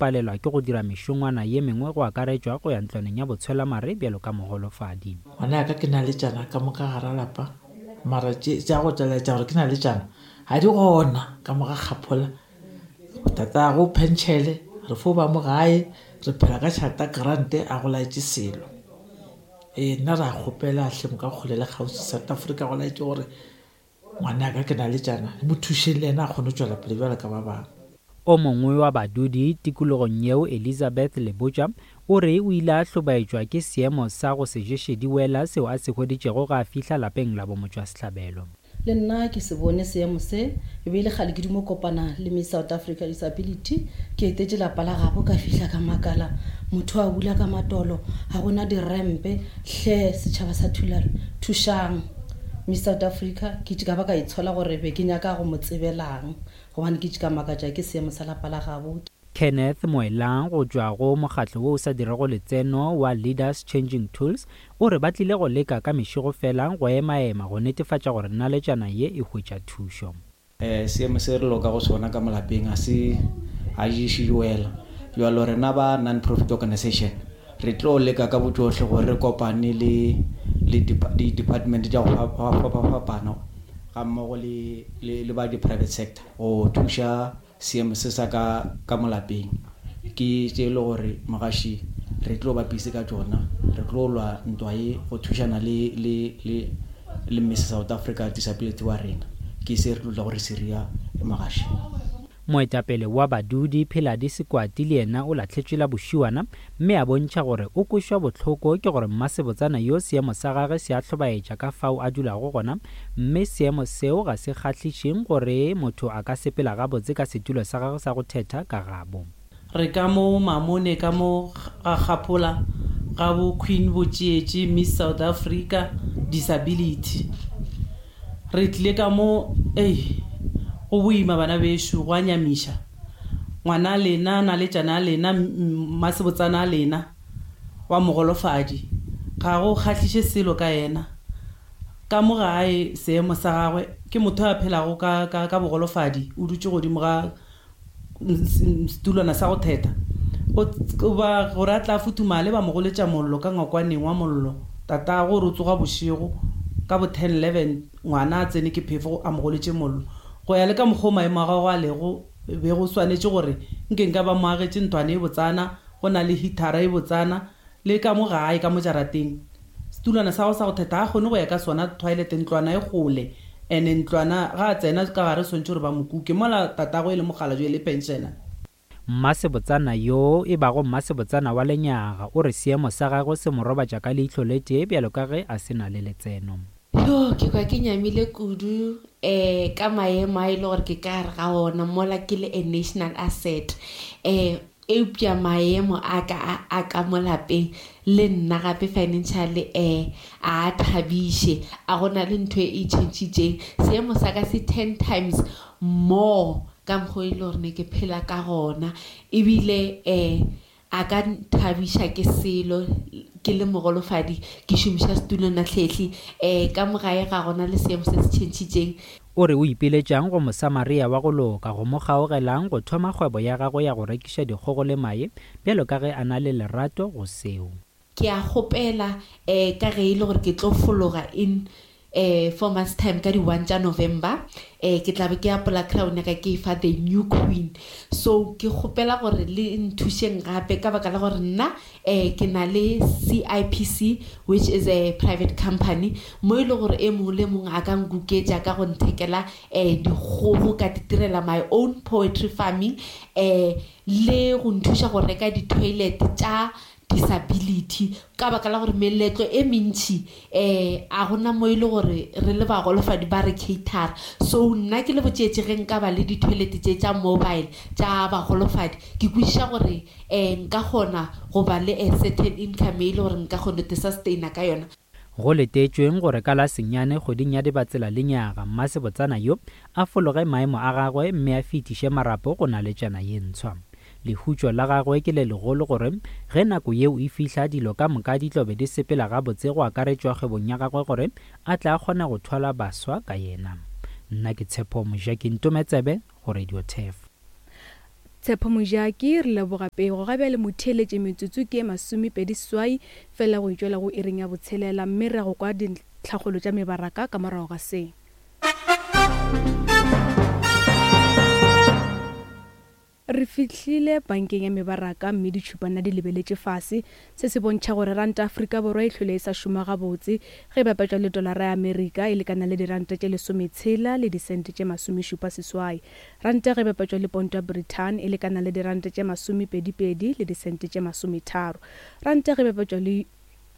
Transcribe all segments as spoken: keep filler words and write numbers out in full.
palelwa ke go dira mešongwana ye mengwe go akaretšwa go ya ntlwaneng ya botshwelamare bjalo ka mogolofadi. Ngwanaka ke naletšana ka moka gara lapa, mara tša go tšweletša gore ke naletšana ga di gona ka mo ga kgaphola. Tatago penšele, re fo ba mo gae, re phela ka tšhelete grant a go laetše selo. Ee, nna re a kgopela hle mo ka kgole le kgauswi South Africa go laetše gore ngwanaka ke naletšana, le mo thušeng le yena a kgone go tšwela pele bjalo ka ba bangwe. O mongwe wa badudi tikologong yeo, Elizabeth Lebotja, o re o ile a hlobaetšwa ke seemo sa go se ješe diwela seo a se hweditšego ga a fihla lapeng la bomotšwasehlabelo. Le nna ke se bone seemo se, e be e le kgale ke dumo kopana le Miss South Africa Disability. Ke etetše lapa la gabo, ka fihla ka makala, motho a bula ka matolo, ga gona dirempe. Hle setšhaba sa Thulare, thušang Miss South Africa. Ke ka ba ka itshola gore be ke nyaka go mo tsebelang, gobane ke ka makatša ke seemo sa lapa la gabo. Kenneth Moelang go tšwa go mokgatlo wo o sa dirego letseno wa Leaders Changing Tools o re ba tlile go leka ka mešego fela go emaema go netefatša gore naletšana ye e hwetša thušo. Eh, seemo se re loka go sona ka molapeng a se a ješe diwela. Jwalo rena ba non-profit organization re tlo leka ka botsohle gore re kopane le le di-department tša go fapafapana ga mmogo le le le ba di-private sector go thuša seemo se sa ka ka molapeng. Ke tše e le gore mogaši re tlo ba busy ka tšona, re tlo lwa ntwa ye go thušana le le le le Miss South Africa Disability wa rena. Ke se re tlo tla gore se ria mogaši. Moetapele wa badudi Pheladi Sekwati le yena o lahletšwe la bošiwana mme a bontšha gore o kwešwa bohloko ke gore mmasebotsana yo seemo sa gagwe se a hlobaetša ka fao a dulago gona, mme seemo seo ga se kgahlišeng gore motho a ka sepela gabotse ka setulo sa gagwe sa go thetha ka gabo. Re ka mo Mamone, ka mo ga Kgaphola, ga bo Queen Botšietši Miss South Africa Disability. Re tlile ka mo, ei, go boima bana bešo, go a nyamiša. Ngwana lena, naletšana a lena, mmasebotsana a lena wa mogolofadi, ga go kgahliše selo ka yena. Ka mo gae seemo sa gagwe ke motho a phelago ka ka ka bogolofadi, o dutše godimo ga setulwana sa go thetha. O ba gore a tla futhumale ba mo goletša mollo ka ngwakwaneng wa mollo. Tatago gore o tsoga bošego ka bo ten eleven, ngwana a tsene ke phefo a mo goletše mollo. Go ya le ka mokgwa o maemo a gagwe a lego, be go swanetše gore nke nka ba mo agetše ntlwana e botsana, go na le heatera e botsana, le ka mo gae ka mo jarateng. Setulwana sa go sa go thetha ga kgone go ya ka sona toilet, ntlwana e kgole. Ene ntlwana ga a tsena ka gare swantše gore ba mo kuke, mola tatago e le mokgalabje le pensioner. Mmasebotsana yo e bago mmasebotsana wa lenyaga o re seemo sa gagwe se mo robatša ka leihlo le tee bjalo ka ge a se na le letseno. Yo, ke kwa ke nyamile kudu eh ka maemo a e le gore ke ka gare ga ona mola ke le a national asset. Eh eupša maemo a ka a ka mo lapeng le nna gape financially eh a thabiše, a gona le ntho e tšhentšhitšeng. Seemo sa ka se ten times more ka mokgwa e le gore ne ke phela ka gona, ebile eh a ka nthabiša ke selo ke le mogolofadi ke šomiša setulwana hlehli. Eh ka mo gae ga gona le seemo se se tšhentšhitšeng. O re o ipiletšang go Mosamaria wa go loka go mo kgaogelang go thoma kgwebo ya gagwe ya go rekiša dikgogo le mae bjalo ka ge a na le lerato go seo. Ke a kgopela eh ka ge e le gore ke tlo fologa in eh four months time ka di one tša November, eh ke tla be ke apola crown ya ka ke fa the new queen. So ke kgopela gore le nthušeng gape ka baka la gore nna eh ke na le C I P C, which is a private company, mo e le gore e mongwe le mongwe a ka nkuketša ka go nthekela eh dikgogo ka ditirela my own poetry farming, eh le go nthuša go reka di-toilet tša disability ka baka la gore meletlo e mentši eh a gona mo e le gore re le bagolofadi ba re cater. So nna ke le botšetše ge nka ba le di-toilet tše tša mobile tša bagolofadi, ke kwešiša gore eh nka kgona go ba le a certain income e le gore nka kgona go sustaina ka yona. Go letetšweng gore ka la senyane kgweding ya Dibatsela lenyaga, mmasebotsana yo a fologe maemo a gagwe mme a fetiše marapo go naletšana ye ntshwa. Lehutšo la gagwe ke le legolo gore ge nako yeo e fihla dilo ka moka di tlo be di sepela gabotse go akaretšwa kgwebong ya gagwe gore a tla kgona go thwala baswa ka yena. Nna ke Tshepo Mojaki Ntometsebe go Radio Turf. Tshepo Mojaki, re leboga pego. Ga bjale motheeletše metsotso ke e masomepedi seswai fela go itšwela go iring ya botshelela, mme re go kwa dintlhakgolo tša mebaraka ka morago ga se. Re fihlile bankeng ya mebaraka mme ditšhupana di lebeletše fase. Se se bontšha gore ranta Afrika Borwa e hlwele e sa šoma gabotse ge e bapetšwa le dolara ya Amerika e lekana le diranta tše lesometshela le disente tše masomešupa seswai. Ranta ge e bapetšwa le ponto ya Britain e lekana le diranta tše masomepedipedi le disente tše masometharo. Ranta ge e bapetšwa le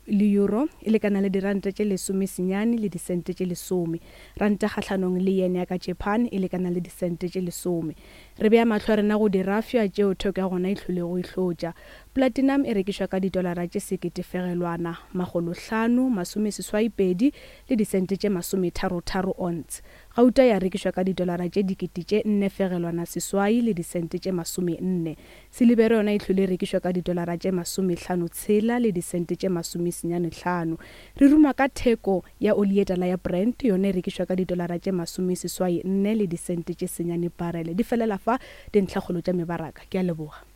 le euro e lekana le diranta tše lesome senyane le disente tše lesome. Ranta kgahlanong le yen ya ka Japan e lekana le disente tše lesome. Re bea mahlo a rena go dirafša tšeo theko ya gona e hlolego e hlotša. Platinum e rekišwa ka didolara tše seketefegelwana makgolo hlano masome seswai pedi le disente tše masometharotharo ounce. Gauta ya rekišwa ka didolara tše dikete tše nne fegelwana seswai le disente tše masome nne. Silibere yona e hlwele e rekišwa ka didolara tše masomehlano tshela le disente tše masome senyane hlano. Re ruma ka theko ya oli ye tala ya Brent, yona e rekišwa ka didolara tše masome seswai nne le disente tše senyane barele. Di felela fa dintlhakgolo tša mebaraka. Ke a leboga.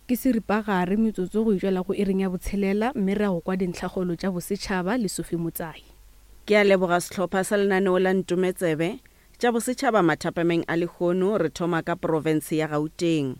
Ke seripagare metsotso go itšwela go iring ya botshelela, mme re ya go kwa dintlhakgolo tša bosetšhaba le Sophie Motsai. Ke a leboga sehlopha sa lenaneo la Ntometsebe tša bosetšhaba mathapameng a lehono. Re thoma ka profense ya Gauteng.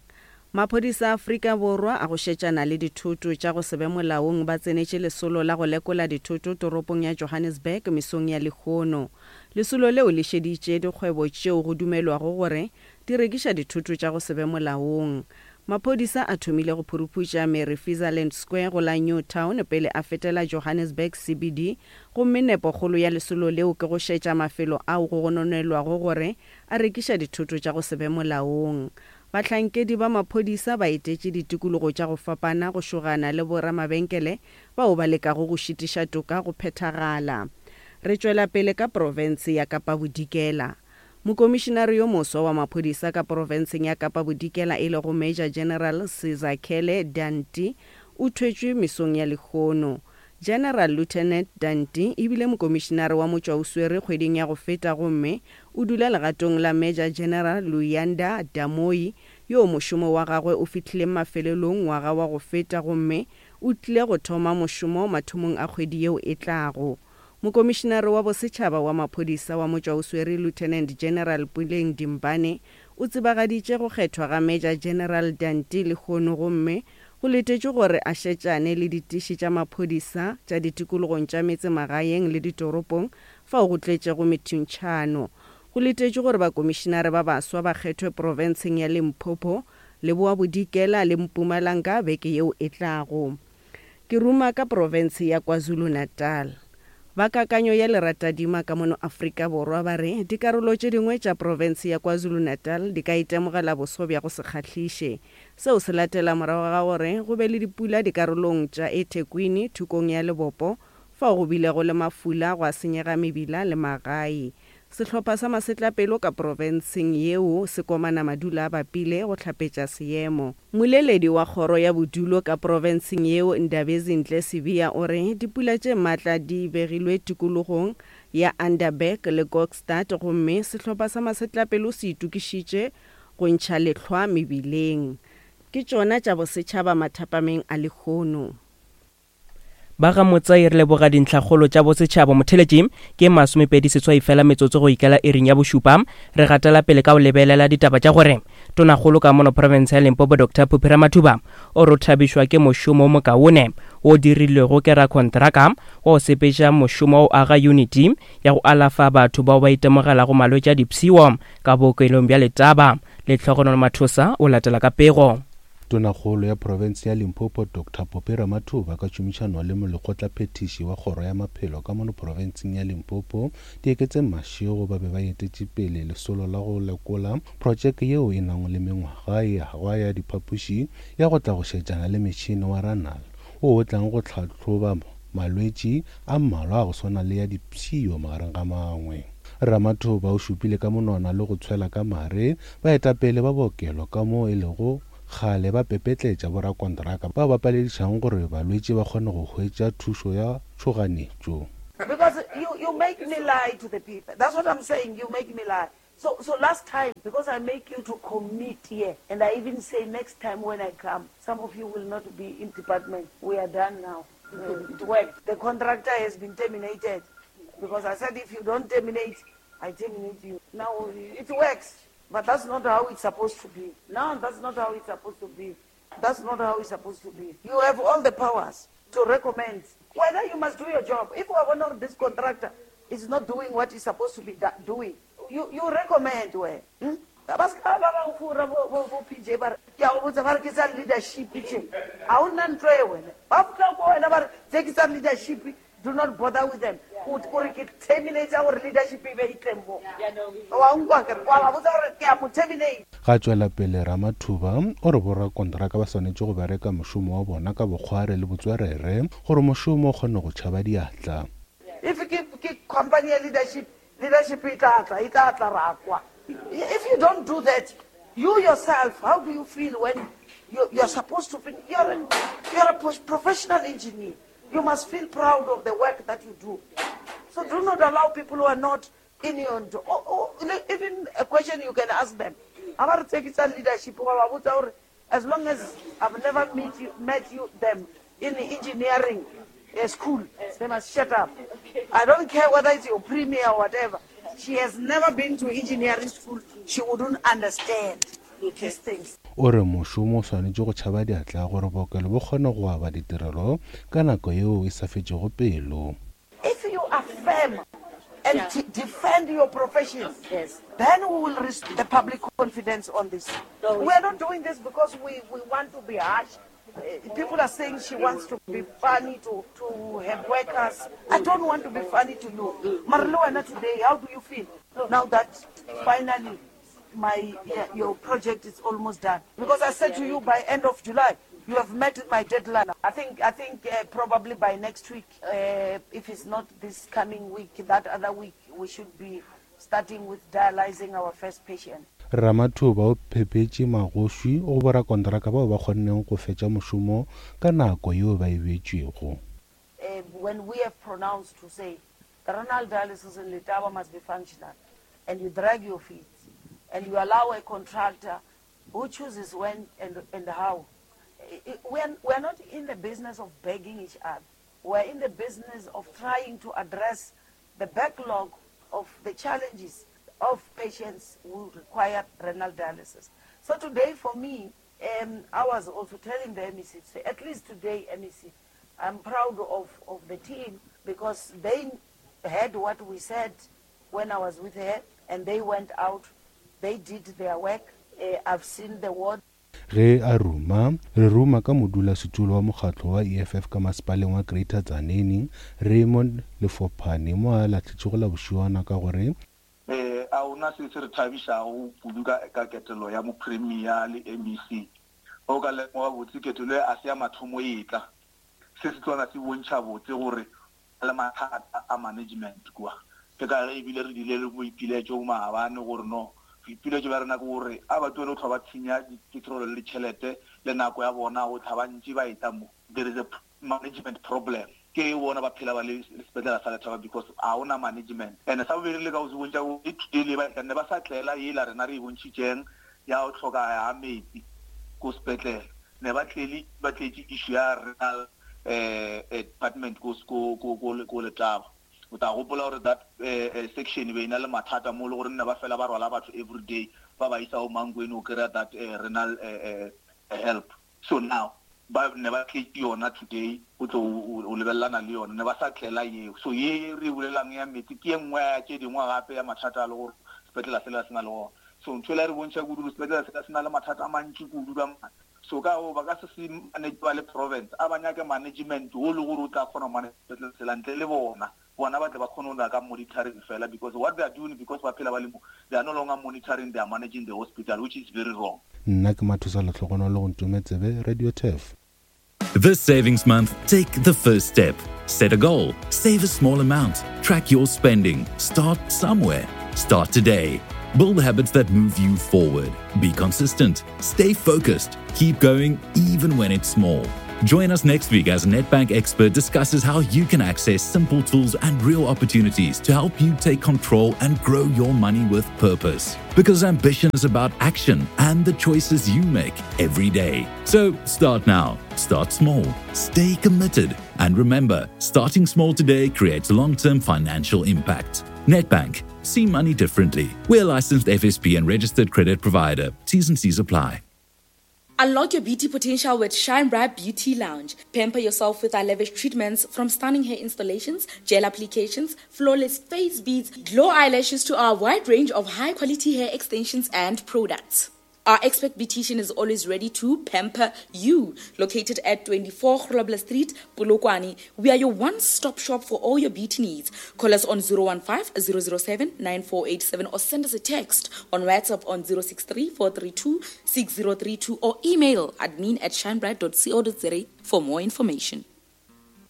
Maphodisa a Afrika Borwa a go šetšana le dithoto tša go se be molaong ba tsenetše lesolo la go lekola dithoto toropong ya Johannesburg mesong ya lehono. Lesolo leo le šeditše dikgwebo tšeo go dumelwago gore di rekiša dithoto tša go se be molaong. Maphodisa a thomile go phuruphutša Mary Fizaland Square go la New Town pele a fetela Johannesburg C B D, gomme nepokgolo ya lesolo leo ke go šetša mafelo ao go gononelwago gore a rekiša dithoto tša go se be molaong. Bahlankedi ba maphodisa ba etetše ditikologo tša go fapana go šogana le boramabenkele bao ba lekago go šitiša toka go phethagala. Re tšwela pele ka profense ya Kapa Bodikela. Mokomišinare yo moswa wa maphodisa ka profenseng ya Kapa Bodikela e lego Major General Sizakele Danti o thwetšwe mesong ya lehono. General Lieutenant Danti e bile mokomišinare wa motšwaoswere kgweding ya go feta gomme o dula legatong la Major General Luyanda Damoyi yo mošomo wa gagwe o fihlileng mafelelong ngwaga wa go feta gomme o tlile go thoma mošomo mathomong a kgwedi yeo e tlago. Mokomišinare wa bosetšhaba wa maphodisa wa motšwaoswere Lieutenant General Puleng Dimbane o tsebagaditše go kgethwa ga Major General Danti lehono gomme go letetšwe gore a šetšane le ditiši tša maphodisa tša ditikologong tša metsemagaeng le ditoropong fao go tletšego methuntšhano. Go letetšwe gore bakomišinare ba baswa ba kgethwe profenseng ya Limpopo, Leboa Bodikela le Mpumalanga beke yeo e tlago. Ke ruma ka profense ya KwaZulu-Natal. Ba kakanyo ya leratadima ka mono Afrika Borwa ba re dikarolo tše dingwe tša profense ya KwaZulu-Natal di ka itemogela boso bja go se kgahliše. Seo se latela morago ga gore go be le dipula dikarolong tša eThekwini thokong ya Lebopo fao go bilego le mafula gwa senyega mebila le magae. Sehlopha sa masetlapelo ka profenseng yeo se komana madula a bapile go hlapetša seemo. Moleledi wa kgoro ya bodulo ka profenseng yeo Ndabezinhle Sibiya o re dipula tše matla di begilwe tikologong ya Underberg le Kokstad gomme sehlopha sa masetlapelo se itokišitše go ntšha lehlwa mebileng. Ke tšona tša bosetšhaba mathapameng a lehono. Ba ga Motsai re leboga dintlhakgolo tša bosetšhaba. Motheletši ke masomepedi seswai fela metsotso go ikela iring ya bošupa. Re gatela pele ka go lebelela ditaba tša gore tonakgolo ka mono province ya Limpopo Doctor Phophi Ramathuba o re thabišwa ke mošomo o mokaone o dirilwego ke rakontraka wa go sepetša mošomo wa go aga uniti ya go alafa batho bao ba itemogelago malwetši a dipshio ka bookelong bja Letaba. Lehlogonolo Mathosa o latela ka pego. Tonakgolo ya profense ya Limpopo Doctor Phophi Ramathuba ka tšhomišano le molekgotlaphethiši wa kgoro ya maphelo ka mono profenseng ya Limpopo Dieketseng Mashego ba be ba etetše pele lesolo la go lekola projeke yeo e nago le mengwaga e agwa ya diphapoši ya go tla go šetšana le metšhene wa Ranal wo o tlang go hlahloba malwetši a mmalwa a go swana le ya dipshio magareng ga mangwe. Ramathuba o šupile ka monwana le go tshwela ka mare baetapele ba bookelo ka moo e lego kgale ba pepetletša borakontraka bao ba paledišago gore balwetši ba kgone go hwetša thušo ya tšhoganetšo. Because you, you make me lie to the people. That's what I'm saying. You make me lie. So, so last time, because I make you to commit here, and I even say next time when I come, some of you will not be in department. We are done now. It worked. The contractor has been terminated. Because I said if you don't terminate, I terminate you. Now, it works. But that's not how it's supposed to be. No, that's not how it's supposed to be. That's not how it's supposed to be. You have all the powers to recommend. Whether you must do your job. If one of this contractor is not doing what he's supposed to be doing, you, you recommend where? Hmm? Ba se ka ba ba fura bo bo bo P J, ba re ke a go botsa, ba re ke tsa leadership tše, ga o nna ntlo e wena ba fotla ko wena, ba re tse ke tsa leadership, do not bother with them. O re ke terminate gore leadership e be e tleng mo wa nkwa kere wa ba botsa gore ke a mo terminate. Ga tšwela pele Ramathuba o re borakontraka ba swanetše go bereka mošomo wa bona ka bokgware le botswerere gore mošomo o kgone go tšhaba diatla. If ke ke company ya leadership, leadership e tla tla, e tla tla ra kwa. If you don't do that, you yourself, how do you feel when you, you're supposed to be, you're a, you're a professional engineer. You must feel proud of the work that you do. So do not allow people who are not in your, oh, oh, even a question you can ask them. Leadership, as long as I've never met you, met you them in engineering uh, school, they must shut up. I don't care whether it's your premier or whatever. She has never been to engineering school. She wouldn't understand these things. O re mošomo o swanetše go tšhaba diatla gore bookelo bo kgone go aba ditirelo ka nako yeo e sa fetšego pelo. If you affirm and yeah. defend your profession, yes, then we will restore the public confidence on this. No, we are not doing this because we, we want to be harsh. People are saying she wants to be funny to, to have workers. I don't want to be funny to you. Marluana, today, how do you feel now that finally my your project is almost done? Because I said to you by end of July, you have met my deadline. I think I think uh, probably by next week, uh, if it's not this coming week, that other week, we should be starting with dialyzing our first patient. Ramathuba o phepetše magoši go borakontraka bao ba kgonneng go fetša mošomo ka nako yeo ba e beetšwego. Uh, when we have pronounced to say the renal dialysis in Letaba must be functional, and you drag your feet, and you allow a contractor who chooses when and, and how. We are, we are not in the business of begging each other. We are in the business of trying to address the backlog of the challenges of patients who require renal dialysis. So today for me, um, I was also telling the M E C, say, at least today, M E C, I'm proud of, of the team because they heard what we said when I was with her, and they went out, they did their work. Uh, I've seen the ward. Ge a ruma re ruma ka modulasetulo wa mokgatlo wa E F F ka masepaleng wa Greater Tzaneen, Raymond Lefophane, mo a lahletšego la bošiwana ka gore eh a ona se se re thabišago kudu ka ka ketelo ya mopremier le M E C. O ka lemoga botse ketelo e a se ya mathomo e tla se se tswana se bontšha botse gore le mathata a management kua. Ke ka ge ebile re dile le boipiletšo maabane gore no boipiletšo bja rena ke gore a ba tlohele go tlhwa ba tshenya dipetrolo le ditšhelete le nako ya bona go tlha ba ntši ba eta mo. There is a management problem. Ke bona ba phela ba le sepetlela sa Lethaba because a ona management. And sa bobedi, le ka go se bontšha e today le ba ne ba sa tlela ela rena re e bontšhitšeng ya go tlhoka ya metsi ko sepetlele, ne ba tlele ba tletše issue ya renal eh department ko ko ko ko Letaba. O tla gopola gore that eh, section be ina le mathata mo le gore nne ba fela ba rwala batho every day ba ba isa o Mankweng o kry-a that eh, renal eh, help. So now ba ne ba tletše yona today o tlo o lebelelana le yona, ne ba sa tlela yeo. So ye re bolelang ya metsi ke ye nngwe ya tše dingwe gape ya mathata a le gore sepetlela sela se na le gona. So ntho ela re bontšha kudu gore sepetlela sela se na le mathata a mantši kudu ka so ka o ba ka se se manage ba le province a ba nyake management o le gore o tla kgona go manage sepetlele sela ntle le bona. Bona ba tle ba kgone go ya ka monitoring fela, because what they are doing, because ba phela ba le mo, they are no longer monitoring, they are managing the hospital, which is very wrong. Nna ke Mathosa Letlhogonolo go Ntometsebe Radio Turf. This savings month, take the first step. Set a goal, save a small amount, track your spending, start somewhere. Start today. Build habits that move you forward. Be consistent, stay focused, keep going even when it's small. Join us next week as Nedbank Expert discusses how you can access simple tools and real opportunities to help you take control and grow your money with purpose. Because ambition is about action and the choices you make every day. So start now, start small, stay committed, and remember, starting small today creates long term financial impact. Nedbank, see money differently. We're a licensed F S P and registered credit provider. T's and C's apply. Unlock your beauty potential with Shine Bright Beauty Lounge. Pamper yourself with our lavish treatments, from stunning hair installations, gel applications, flawless face beads, glow eyelashes to our wide range of high-quality hair extensions and products. Our expert beautician is always ready to pamper you. Located at twenty-four Grobler Street, Polokwane, we are your one-stop shop for all your beauty needs. Call us on zero one five, zero zero seven, nine four eight seven or send us a text on WhatsApp on zero six three, four three two, six zero three two or email admin at shinebright dot co dot za for more information.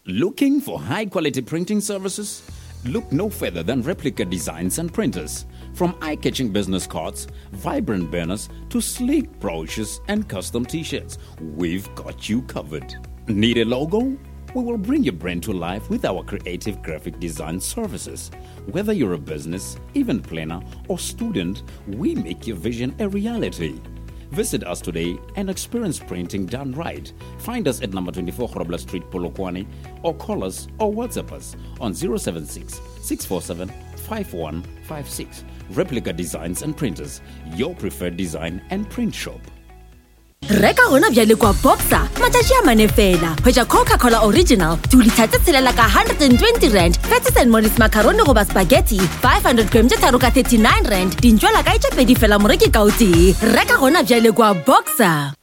Looking for high-quality printing services? Look no further than Replica Designs and Printers. From eye-catching business cards, vibrant banners, to sleek brochures and custom t-shirts, we've got you covered. Need a logo? We will bring your brand to life with our creative graphic design services. Whether you're a business, event planner, or student, we make your vision a reality. Visit us today and experience printing done right. Find us at number twenty-four Grobler Street, Polokwane, or call us or WhatsApp us on zero seven six, six four seven, five one five six. Replica Designs and Printers, your preferred design and print shop. Reka gona bjale kwa Boxer, matšatši a mane fela. Hwetša Coca-Cola Original, two litre tse tshelela ka hundred and twenty rand, Fatties and Mollies macaroni goba spaghetti, five hundred gram tše tharo ka thirty-nine rand, dintšwela ka tše pedi fela moreki ka o tee. Reka gona bjale kwa Boxer.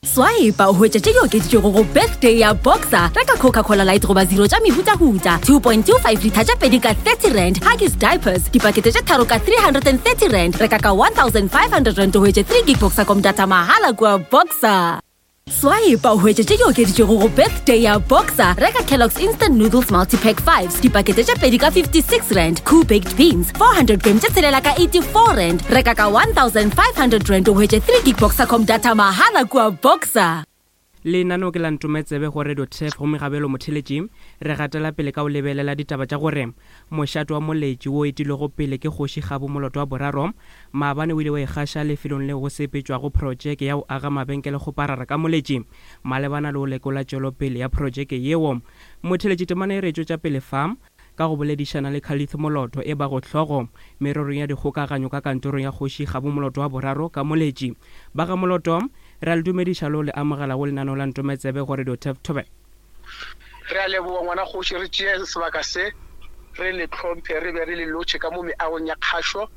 Swipe o hwetša tše di okeditšwego go birthday ya Boxer. Reka Coca-Cola Light goba zero tša mehutahuta, two point two five litre tša pedi ka thirty rand, Huggies diapers, dipakete tše tharo ka three hundred and thirty rand, reka ka one thousand five hundred rand o hwetše three gig Boxercom data mahala kua Boxer. Swipe o hwetše tše di okeditšwego go birthday ya Boxer. Reka Kellogg's Instant Noodles Multipack fives, dipakete tše pedi ka fifty-six rand, Cool Baked Beans, four hundred gram tše tshelela ka eighty-four rand, reka ka one thousand five hundred rand o hwetše three gig Boxercom data mahala kua Boxer. Lenaneo ke la Ntometsebe go Radio Turf go Megabelo Motheletši. Re gatela pele ka o lebelela ditaba tša gore mošato wa Moletši wo etilwego pele ke kgoši Kgabo Moloto wa boraro maabane o ile wa ikgaša lefelong leo go sepetšwago projeke ya go aga mabenkele kgoparara ka Moletši malebana le go lekola tšwelopele ya projeke yeo. Motheletši temana e re tšwetša pele fa ka go boledišana le Khalith Moloto e bago hlogo mererong ya dikgokaganyo ka kantorong ya kgoši Kgabo Moloto wa boraro ka Moletši. Ba ga Moloto, re a le dumediša le le amogela go lenaneo la Ntometsebe go Radio Turf Thobe. Re a leboga ngwana kgoši, re tšee sebaka se re le tlhomphe, re be re le lotšhe ka mo meagong ya kgašo,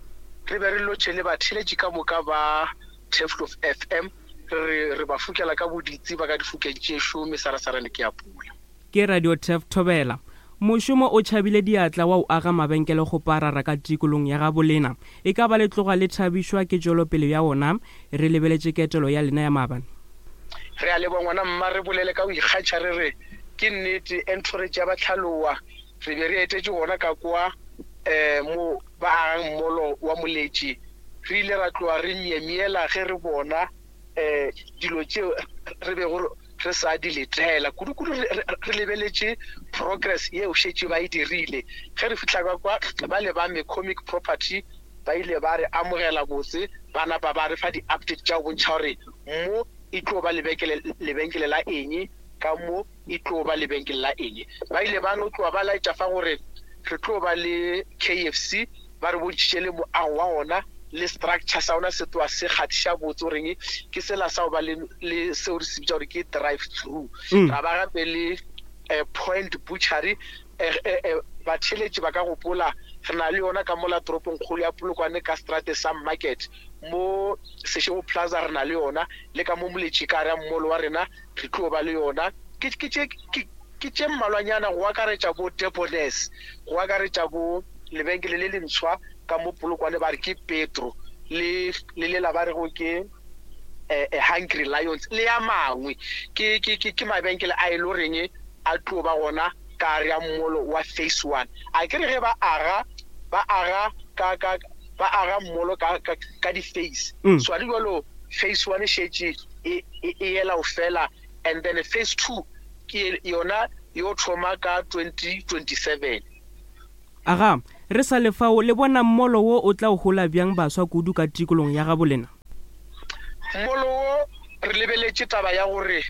re be re lotšhe le batheeletši ka moka ba Turfloop F M, re re ba fokela ka boditsi ba ka difokeng tšešo mesarasarane ke ya pula. Ke Radio Turf Thobela. Mošomo o tšhabile diatla wa o aga mabenkele go parara ka tikolong ya gabolena. E ka ba le tloga le thabišwa ke tšwelopele ya ona, re lebeletše ketelo ya lena ya maabane. Re a leboga ngwana mma, re bolele ka go ikgatšha re re ke nnete entourage ya Batlhaloa re be re etetše gona ka kwa um mo ba agang mmolo wa Moletši. Re ile ra tloga re myemyela ge re bona um dilo tšeo re bego re sa di letela kudu-kudu, re lebeletše progress yeo šetše ba e dirile. Ge re fihla ka kwa ba le ba McCormick Property ba ile ba re amogela botse, ba napa ba re fa di-update tša go bontšha gore mo e tlo ba lebenkele lebenkele la eng, ka mo e tlo ba lebenkele la eng. Ba ile ba no tloga ba laetša fa gore re tlo ba le K F C, ba re bontšhitše le moago wa ona le structure sa ona se tloa se kgathiša botse goreng ke sela sa go ba le le seo re se bitša gore ke drive through. Ra ba gape le Point Butchery, batheeletši ba ka gopola re na le yona ka mola toropong kgolo ya Polokwane ka strate sa Market, mo Seshego Plaza re na le yona, le ka mo Moletši ka gare ya mmolo wa rena re tlo ba le yona. Ke ke tše ke tše mmalwanyana go akaretša bo Debonaires, go akaretša bo lebenkele le lentshwa ka mo Polokwane ba re ke Petro, le le lela ba rego ke eh Hungry Lions le ya mangwe. Ke ke ke mabenkele a e le goreng a tlo ba gona ka gare ya mmolo wa phase one. A ke re ge ba aga ba aga ka ka ba aga mmolo ka ka ka di-phase. So a di jalo phase one e šetše e e ela o fela, and then phase two Ke yona yo thoma ka twenty twenty-seven. Aga, re sa le fao le bona mmolo wo o tla o hola bjang baswa kudu ka tikolong ya gabo lena? Mmolo wo re lebeletše taba ya gore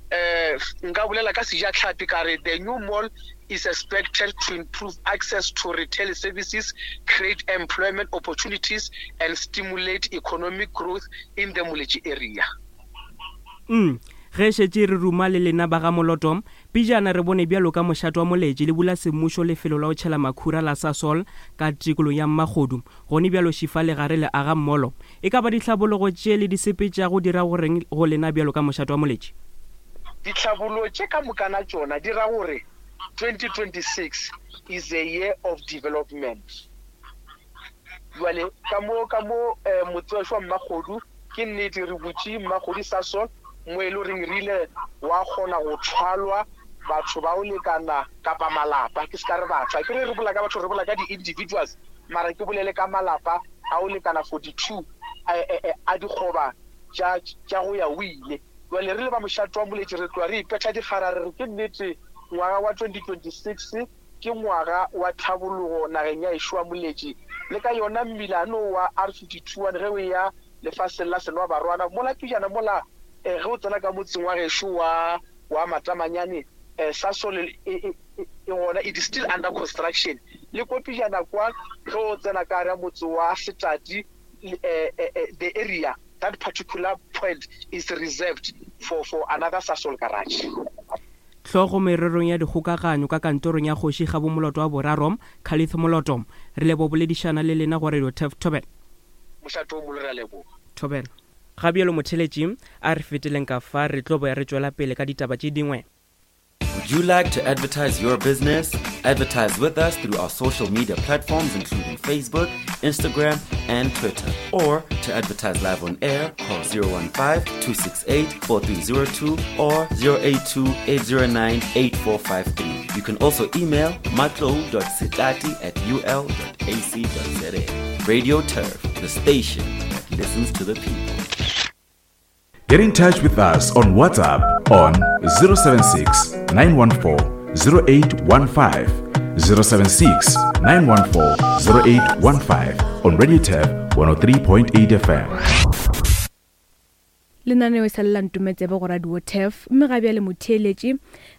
eh nka bolela ka sejatlhapi ka re the new mall is expected to improve access to retail services, create employment opportunities and stimulate economic growth in the Moletši area. Mm. Ge šetše re ruma le lena ba ga Moloto, pejana re bone bjalo ka mošato wa Moletši le bula semmušo lefelo la go tšhela makhura la Sasol ka tikolong ya Mmakgodu. Gone bjalo šifa le gare le aga mmolo. E ka ba ditlhabologo tše le di sepetšago di ra goreng go lena bjalo ka mošato wa Moletši? Ditlhabologo tše ka mokana tšona di ra gore twenty twenty-six is a year of development. Jwale ka mo ka mo eh, motse wa Mmakgodu ke nnete re butše Mmakgodu Sasol mo e le goreng re ile wa kgona go thwalwa batho ba o lekana kapa malapa, ke se ka re batho, ke re re bolela ka batho, re bolela ka di-individuals, mara ke bolele ka malapa a o lekana forty-two a dikgoba tša tša go ya o ile. Jwale re le ba mošato wa Moletši re tloga re ipetha dikgara re re ke nnete ngwaga wa twenty twenty-six ke ngwaga wa tlhabologo nageng ya ešo wa Moletši. Le ka yona mmilano wa R fifty-two one ge o ya lefaseng la Senwa Barwana mola pejana mola ge o tsena ka motseng wa gešo wa wa Matamanyane, Sasol e gona, it is still under construction. Le ko pejana kwa ge o tsena ka gare motse wa Setati, the area, that particular point is reserved for for another Sasol garage. Tlhogo mererong ya dikgokaganyo ka kantorong ya kgoši Kgabo Moloto wa boraro, Khalith Moloto, re lebo boledišana le lena go Radio Turf Thobela. Mošato o molo re a leboga. Thobela. Ga bjalo motheletši, a re feteleng ka fa re tlo boya re tšwela pele ka ditaba tše dingwe. Would you like to advertise your business? Advertise with us through our social media platforms including Facebook, Instagram, and Twitter. Or to advertise live on air, call zero one five, two six eight, four three zero two or zero eight two, eight zero nine, eight four five three. You can also email matlo dot setati at u l dot a c dot z a. Radio Turf, the station that listens to the people. Get in touch with us on WhatsApp on zero seven six, nine one four, zero eight one five, zero seven six, nine one four, zero eight one five on Radio Turf one oh three point eight F M. Lenaneo e sa le la Ntometsebe go Radio Turf, mme ga bjale motheeletši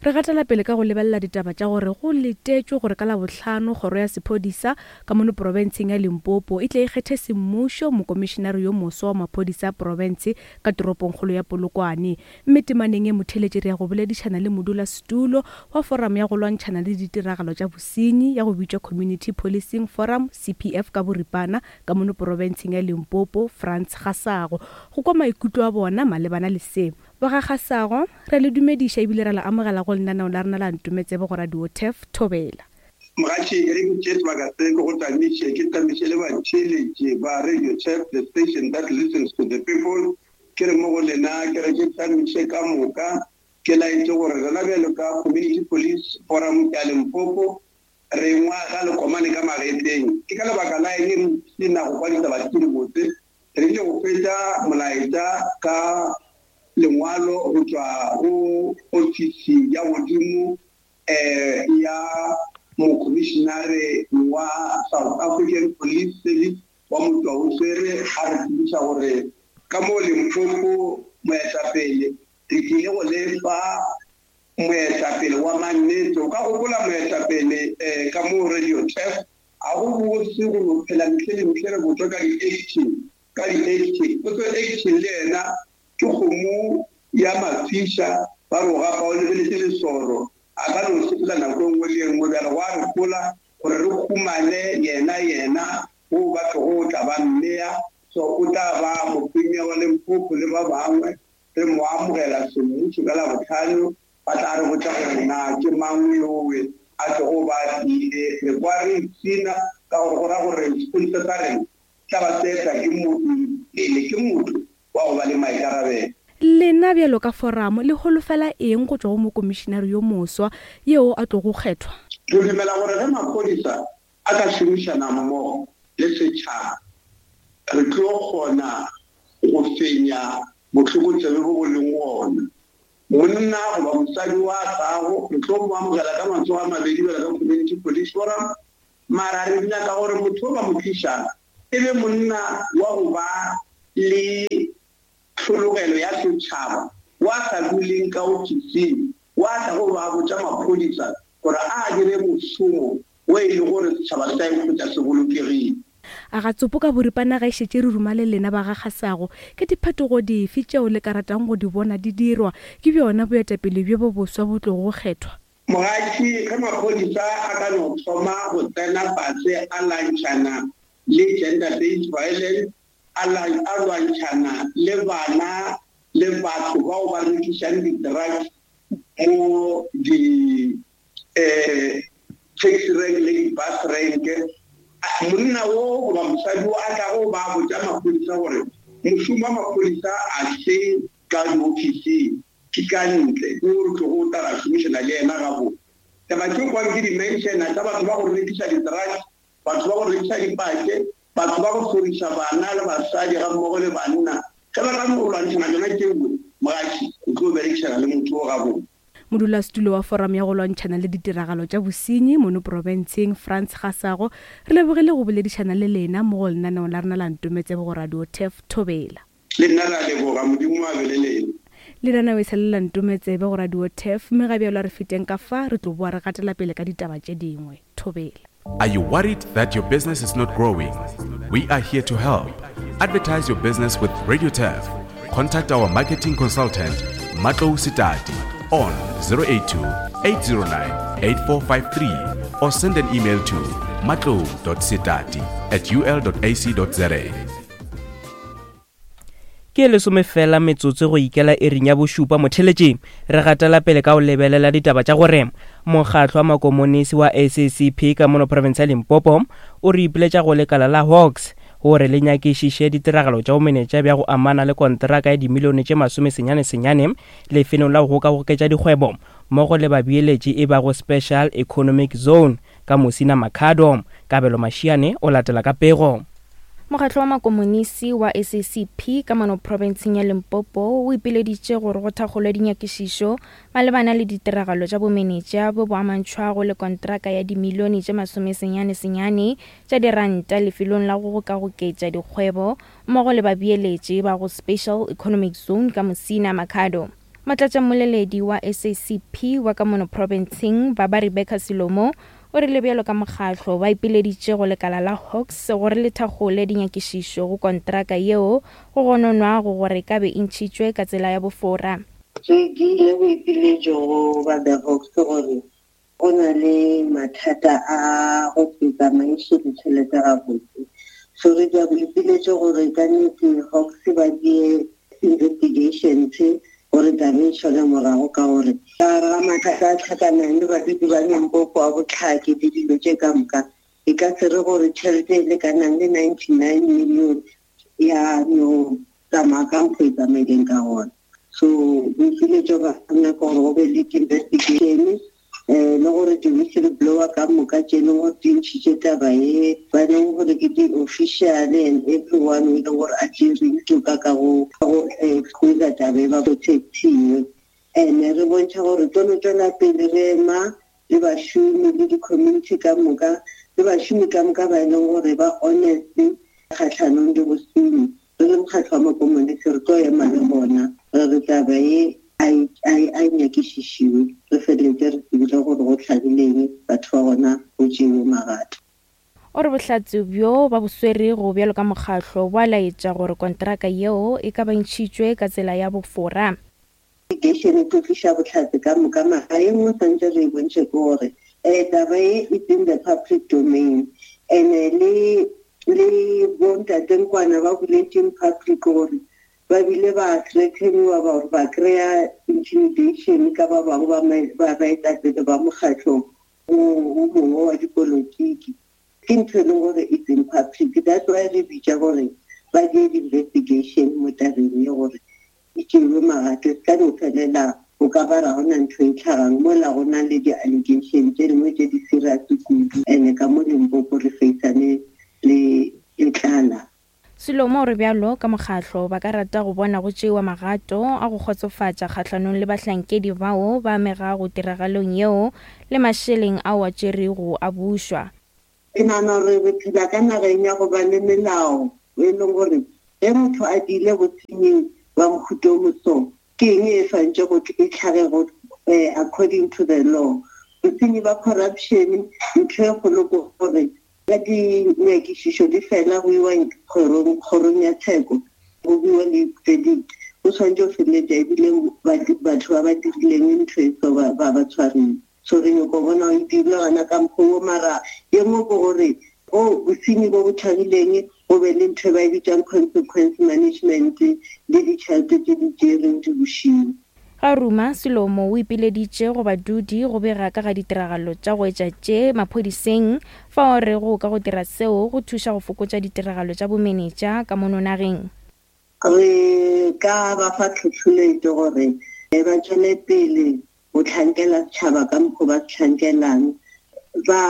re gatela pele ka go lebelela ditaba tša gore go letetšwe gore ka Labohlano kgoro ya sephodisa ka mono profenseng ya Limpopo e tle e kgethe semmušo mokomišenare yo moswa wa maphodisa a profense ka toropongkgolo ya Polokwane. Mme temaneng e motheeletši re ya go boledišana le modulasetulo wa forum ya go lwantšhana le ditiragalo tša bosenyi ya go bitšwa Community Policing Forum C P F ka boripana ka mono profenseng ya Limpopo, Frans Gasago, go kwa maikutlo a bona malebana le se. Ba ga Gasago, re le dumediša ebile re la amogela go lenaneo la rena la Ntometsebe go Radio Turf. Thobela. Mogatši, e re ke tšee sebaka se ke go tamiše, ke tamiše le batheeletši ba Radio Turf, the station that listens to the people. Ke re mo go lena, ke re ke tamiše ka moka, ke laetše gore rena bjalo ka Community Police Forum ya Limpopo re ngwaga le komane ka magetleng. Ke ka lebaka la eng re sena go kwa ditaba tše dibotse? Re ile go fetša molaetša ka lengwalo go tšwa go ofisi ya godimo eh ya mokomišenare wa South African Police Service wa Motšwaoswere, a re tsebiša gore ka mo Limpopo moetapele re tlile go lefa moetapele wa mannete. O ka gopola moetapele eh ka mo Radio Turf, a go bose go no phela mehle le mehle re botšwa ka di-action, ka di-action. Potso action le yena ke kgomo ya mafiša, ba roga fa o lebeletše lesoro, a ka no sepela nako e nngwe le e nngwe. Bjale gwa re gola gore re humane yena yena go ba tlogo tla ba mmea, so o tla ba mopremier wa Limpopo le ba bangwe re mo amogela semmušo ka Labohlano. Ba tla re botša gore na ke mang yowe a tlogo ba tlile. Re kwa re ipshina ka gore go ra gore sepodisa sa rena tla ba tsetla ke motho pele, ke motho wa go ba le maikarabelo. Lena bjalo ka forum le holofela eng go tšwa go mokomišenare yo moswa yeo a tlogo kgethwa? Re dumela gore ge maphodisa a ka šomišana mmogo le setšhaba, re tlo kgona go fenya bohlokotsebe bo bo leng gona. Monna goba mosadi wa tlago re tlo mo amogela ka matsogo a mabedi bjalo ka Community Police Forum, mara re nyaka gore motho o ba mo tlišang e be monna wa go ba le tlhologelo ya setšhaba, wa sa duleng ka ofising, wa tla go ba botša maphodisa gore a dire mošomo wo e le gore setšhaba se tla ikhwetša se bolokegile. A ga tsopo ka boripana ga e šetše re ruma le lena ba ga Kgasago, ke diphetogo dife tšeo le ka ratang go di bona di dirwa ke bjona boetapele bjo bo boswa bo tlogo go kgethwa? Mogatši, ge maphodisa a ka no thoma go tsena fase a lwantšhana le gender-based violence, a lwantšhana le bana le batho bao ba rekišang di-drugs mo di eh taxi rank le di-bus rank, monna wo goba mosadi wo a tlago ba botša maphodisa gore mošomo wa maphodisa a se ka diofising, ke ka ntle, ke gore tlogo o tla ra šomišana le yena gabotse. Taba tše kwang ke di-mentiona tša batho ba go rekiša di-drugs, batho ba go rekiša dipake, batho ba go hloriša bana le basadi ga mmogo le banna. Ge ba ka no lwantšhana tšona tšeo, mogatši o tlo berekišana le motho o gabotse. Modulasetulo wa forum ya go lwantšhana le ditiragalo tša bosenyi mono profenseng Frans Kgasago, re lebogile go boledišana le lena mo go lenaneong la rena la Ntometsebe go Radio Turf Thobela. Le nna re a leboga, Modimo a be le lena. Lenaneo e sa le la Ntometsebe go Radio Turf, mme ga bjalo a re feteng ka fa re tlo boa re gatela pele ka ditaba tše dingwe. Thobela. Are you worried that your business is not growing? We are here to help. Advertise your business with Radio Turf. Contact our marketing consultant, Matlou Sitati, on zero eight two, eight zero nine, eight four five three or send an email to matlou dot sitati at u l dot a c dot z a. Ke lesome fela metsotso go ikela iring ya bošupa motheletši. Re gatela pele ka go lebelela ditaba tša gore mokgatlo wa makomonisi wa S A C P ka mono province ya Limpopo o re ipiletša go lekala la Hawks gore le nyakišiše ditiragalo tša bomenetša bja go amana le kontraka ya dimilione tše masome senyane senyane lefelong la go gokagoketša dikgwebo mmogo le babeeletši e bago Special Economic Zone ka Musina Makhado. Kabelo Mashiane o latela ka pego. Mokgatlo wa makomonisi wa S A C P ka mono profenseng ya Limpopo o ipileditše gore go thakgolwe dinyakišišo malebana le ditiragalo tša bomenetša bo bo amantšhwago le kontraka ya dimilione tše masome senyane senyane tša diranta lefelong la go gokagoketša dikgwebo mmogo le babeeletši ba go Special Economic Zone ka Musina Makhado. Motlatšamoleledi wa S A C P wa ka mono profenseng Baba Rebecca Silomo o rile bjalo ka mokgatlo ba ipileditše go lekala la Hawks gore le thakgole dinyakišišo go kontraka yeo go gononwago gore e ka be e ntšhitšwe ka tsela ya bofora. Re dirile boipiletšo go ba the Hawks gore go na le mathata a go se tsamaiše ditšhelete gabotse. So re dira boipiletšo gore ka nnete Hawks ba die investigations gore taba e tšhole morago, ka gore ka gare ga mathata a tlhakanang le badudi ba Limpopo a botlhaki le dilo tše ka moka, e ka se re gore tšhelete e lekanang le ninety-nine million ya no tsamaya ka mokgwa e tsamaileng ka gona. So boipiletšo ba nna ke gore go be le investigation, eh, le gore di-whistleblower ka moka tše leng gore di ntšhitše taba ye, ba leng gore ke di-official and everyone o e leng gore a tšere toka ka go, ka go expose taba e ba protectiwe. And re bontšha gore tlo no tšwela pele re ema le bašomi le di-community ka moka, le bašomi ka moka ba e leng gore ba honest kgahlanong le bosenyi. Re le mokgatlo wa makomonisi re tlo ema le bona, re re taba ye a e, a e, a e nyakišišiwe, re feleletse re tsebile gore go hlabileng batho ba gona go tšewe magato. O re bohlatse bjo ba bo swerego bjalo ka mokgatlo bo a laetša gore kontraka yeo e ka ba ntšhitšwe ka tsela ya bofora. Investigation e tlo tliša bohlatse ka moka, mara e nngwe santse re e bontšhe ke gore, eh, taba e it's in the public domain, and le, le bontate Nkwana ba boletše in public gore ba bile ba threateniwa ba gore ba kry-a intimidation ka ba bangwe ba ma-, ba baetapele ba mokgatlo o, o mongwe wa dipolotiki. Ke ntho e leng gore it's in public, that's why re bitša gore ba die di-investigation mo tabeng ye gore e tšewe magato, e se ka no felela o ka ba ra gona ntho e tlhagang mola go na le di-allegation tše dingwe tše di serious kudu, and ka mo Limpopo re faceane le, le tlala. Selomo o re bjalo ka mokgatlo ba ka rata go bona go tšewa magato a go kgotsofatša kgahlanong le bahlankedi bao ba amegago tiragalong yeo le mašeleng ao a tšerego a bušwa. Ke nagana gore re phela ka nageng ya go ba le melao e leng gore ge motho a diile bosenying ba mohuta o moso, ke eng e swantše go e tlhage go according to the law. Bosenyi ba corruption ntho e kgolo ke gore ka dinyakišišo di fela go iwa kgorong kgorong ya tsheko go biwa le verdict, go tshwanetse go feleletša ebile batho ba ba dirileng ntho e so ba ba tshwarile. So re nyako bona e dirilwe gona ka mokgwa wo, mara ye nngwe ke gore go bosenyi bo bo tlhagileng go be le ntho e ba e bitsang consequence management le ditšhelete tse di tšereng di bušiwe. Ga ruma Selomo o ipileditše go badudi go bega ka ga ditiragalo tša go etša tše maphodiseng fao re go ka go dira seo go thuša go fokotša ditiragalo tša bomenetša ka mono nageng. Re ka ba fa tlhotlheletšo gore ba tšwele pele go tlhankela setšhaba ka mokgwa ba se tlhankelang, ba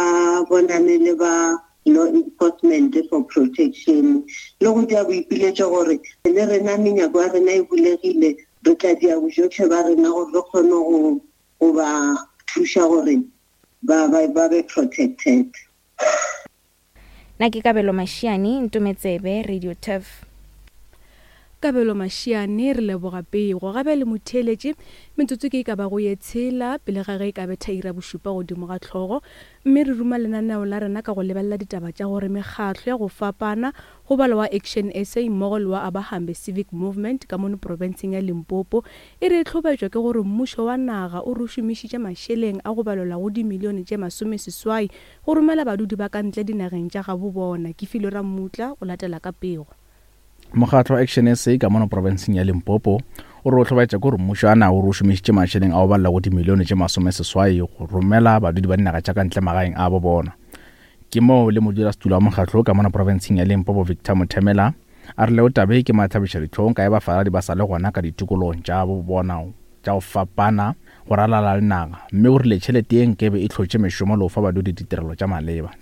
bonane le ba law enforcement for protection le go dia boipiletšo gore le rena menyako ya rena e bulegile, re tla dia bojotlhe ba rena gore re kgone go go ba thuša gore ba ba ba be protected. Nna ke Kabelo Mashiane, Ntometsebe, Radio Turf. Kabelo Mashiane, re leboga pego. Gabe le motheeletše metsotso ke e ka bago ye tshela pele ga ge e ka betha ira bošupa godimo ga tlhogo, mme re ruma lenaneo la rena ka go lebelela ditaba tša gore mekgatlo ya go fapana go balwa wa Action S A mmogo le wa Abahambe Civic Movement ka mono profenseng ya Limpopo e re e tlhobetšwa ke gore mmušo wa naga o re šomišitše mašeleng a go balelwa go dimilione tše masomeseswai go romela badudi ba ka ntle dinageng tša gabo bona. Ke Filo Rammutla o latela ka pego. Mokgatlo wa Action S A ka mono profenseng ya Limpopo o re o hlobaetša ke gore mmušo wa naga o re o šomišitše mašeleng a go balela go dimilione tše masomeseswai go romela badudi ba dinaga tša ka ntle magaeng a bo bona. Ke moo le modulasetulo wa mokgatlo ka mono profenseng ya Limpopo Victor Mothemela a re leo tabe ke mathabiša dihlong ka e bafaladi ba sa le gona ka ditikologong tša bo bona tša go fapana go ralala le naga, mme o rile tšhelete ye nkebe e hlotše mešomo le go fa badudi ditirelo tša maleba.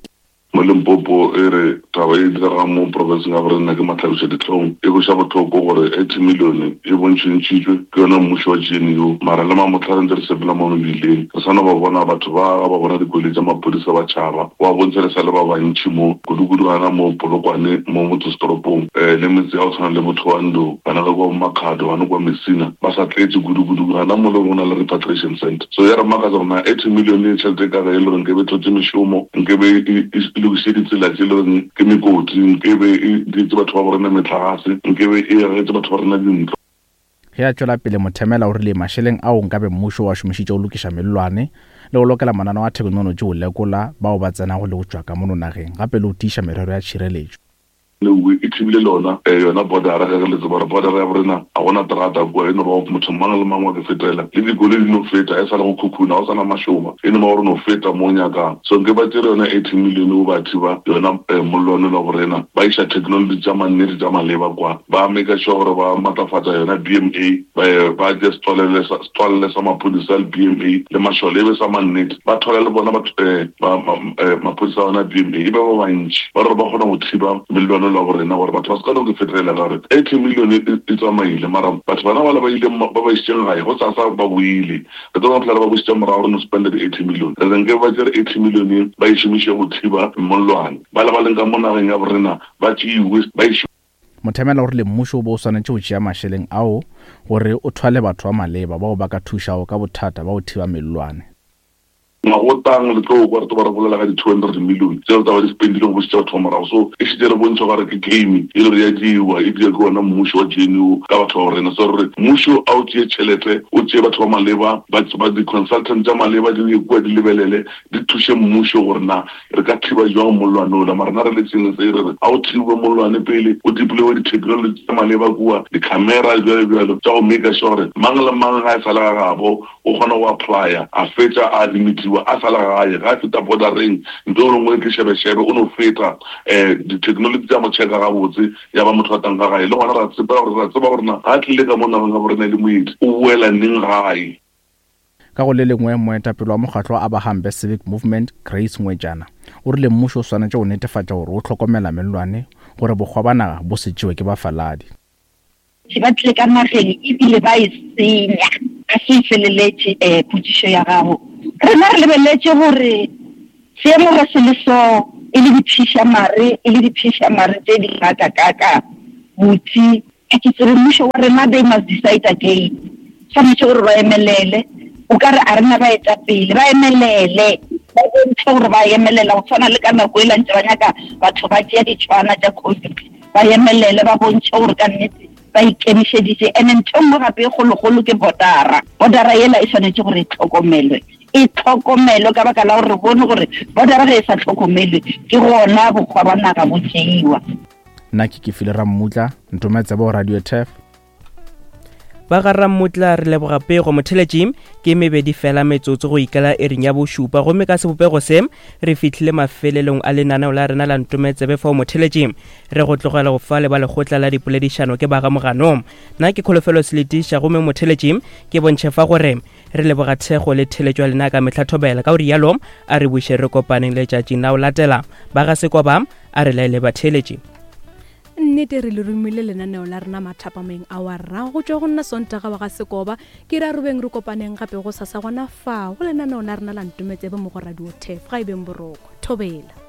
Mo Limpopo e re taba e diregang mo profenseng ya borena ke matlhabiša dihlong, e kweša bohloko gore eighty million e bontšhintšhitšwe ke yona mmušo wa G N U, mara le mamotlha re ntse re sepela mo mebileng re sa no ba bona batho ba ga ba bona dikoloi tša maphodisa ba tšhaba, wa bontšha re sa le ba bantši mo kudu-kudu gana mo Polokwane mo motsesetoropong um le metse ya go tshwana le Bothoando, bana ka kwa Makhado, bana kwa Messina ba sa tletše kudu-kudu gana mo le go na le repatriation center. So ya re makatsa gore na eighty million e tšhelete ka ge e le gore nkebe e tlhotse mešomo, nkebe e lokiše ditsela tše le goreng ke mekoti, nkebe e dietse batho ba borena metlagase, nkebe e agetse batho ba rena dintlo. Ge a tšwela pele Mothemela o rile mašeleng ao nkabe mmušo wa šomišitše go lokiša mellwane le go lokela mananeo a theknolotši go lekola bao ba tsenago le go tšwa ka mono nageng, gape le go tiiša merero ya tšhireletšo. E thibile lona yona bordera, ge re le tseba gore bordera ya borena a gona terata kua, e no ba motho mang le mang wa ke fetela le dikoloi di no feta, e sa le go khukhuna, go sana mašoba, e no ba gore no feta mo o nyakang. So nke ba tšere yona eighty million o ba thiba yona mollwane la borena, ba iša technology tša mannete tša maleba kwa, ba make sure gore ba matlafatša yona B M A, ba tše setswalle sa maphodisa le B M A le mašole e be sa mannete, ba thole le bona maphodisa a yona B M A e be ba bantši, ba re ba kgona go thiba mellwane la borena gore batho ba se ka no ke fetelela ka gore eighty million e tsamaile, mara batho bana bale ba ile ba ba isitšeng gae go sasa ba boile, re tlo bona ba bušitše morago re no spenda di-eighty million. Re reng ke ba tšere eighty million ba e šomiše go thiba mollwane, ba le ba leng ka mo nageng ya borena ba tšeiwe ba e. Mothemela o rile mmušo o bo o swanetše go tšea mašeleng ao gore o thwale batho ba maleba bao ba ka thušago ka bothata ba go thiba mellwane. Ngwagotang le tlo kwa re tlo ba re bolela ka di-two hundred million tseo tsa ba di spendile go bušetša batho ba morago. So e šetše re bontšha gore ke game e le gore ya diewa, e dira ke ona mmušo wa G N U ka batho ba borena. So re re mmušo a o tšee tšhelete, o tšee batho ba maleba, ba di-consultant tša maleba di ye kua di lebelele, di thuše mmušo gore na re ka thiba jwang mollwane ola. Mara rena re le sengwe se re re a o thibe mollwane pele, o deploye di-technology tša maleba kua, di-camera bjalo bjalo tša go make sure gore mang le mang ga e sa le ga gabo o kgona go applya, a fetša a admitiwa a sa le gae, ga a feta bordereng nto e nngwe ke šebešebe o no feta um di-technology tša mo checka gabotse ya ba motho a tang ka gae. Le gona ra tseba gore ra tseba gore na ga a tlile ka mo nageng ga borena le moedi o boela neng gae. Ka go le lengwe moetapele wa mokgatlo wa Abahambe Civic Movement Grace Ngwejana o rile mmušo o swanetše go netefatša gore o hlokomela mellwane gore bokgwa ba naga bo se tšewe ke bafaladi. Ba tlile ka nageng ebile ba e senya. Ga se e feleletše um potšišo ya gago. Rena re lebeletše gore seemo ge se le so e le diphišamare e le diphišamare tše di kakakaka botse a ke tsebe mmušo wa rena they must decide again. Tshwanetse gore ba emelele o ka re a rena baetapele ba emelele ba bontšhe gore ba emelela go tshwana le ka nako e la ntse ba nyaka batho ba tšea ditšhwana tša COVID ba emelele ba bontšhe gore ka nnete ba ikemišeditše. And ntho e nngwe gape e kgolokgolo ke botara. Botara yela e swanetše gore e tlhokomelwe e tlhokomelwe ka baka la gore re bone gore botara ge e sa tlhokomelwe ke gona bokgwa ba naga bo tšeiwa. Nna ke Kefile Rammutla, Ntometsebe go Radio Turf. Ba ga Rammutla re leboga pego motheletši ke mebedi fela metsotso go ikela ering ya bošupa gomme ka sebopego se re fihlile mafelelong a lenaneo la rena la Ntometsebe fao motheletši re go tlogela go fa le ba lekgotla la dipoledišano ke ba ga Moganong. Nna ke Kholofelo Seletiša gomme motheletši ke bontšhe fa gore re leboga thekgo le theletšo ya lena ka mehla thobela ka gore yalo a re buše re kopaneng letšatšing la go latela. Ba ga Sekoba a re laele batheletši. Nnete re le romile lenaneo la rena mathapameng a wa rra go tšwa go nna Sontaga wa ga Sekoba ke re a robeng re kopaneng gape go sasa gona fa go lenaneo la rena la Ntometsebe mo go Radio Turf. Ga e beng boroko thobela.